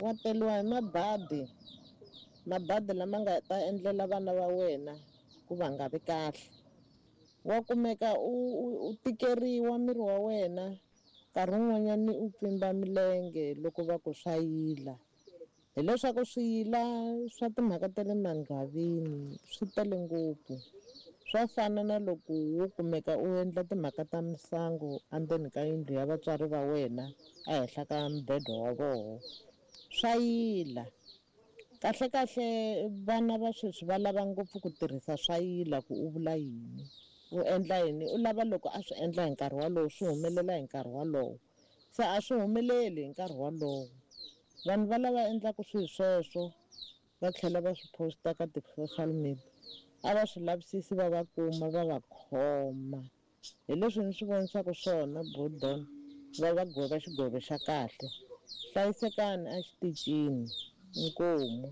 Wa teriwa hi mabadi, mabadi lama nga ta endlela vana va wena ku va nga vi kahle. Wa kumeka u tikeriwa miri wa wena nkarhi wun'wanyani u pfimba milenge loko va ku swa yila. Hileswaku swiyila swa timhaka ta le manghavini swi tele ngopfu. Swa fana na loko wo kumeka u endla timhaka ta misangu endzeni ka yindlu ya vatswari va wena ehenhla ka mubedo wa vona. Swa yila. Kahlekahle vana va sweswi va lava ngopfu ku tirhisa swa yila ku u vula yini, u endla yini, u lava loko a swi endla hi nkarhi wolowo swi humelela hi nkarhi wolowo. Se a swi humeleli hi nkarhi wolowo. Vanhu va lava endlaka swilo sweswo va tlhela va swi posta ka ti-social media a va swi lavisisi va va kuma va va khoma. Hi leswi ni swi vonisaka swona Bodon va va gweva xigwevo xa kahle. Hlayisekani exitichini. Inkomu.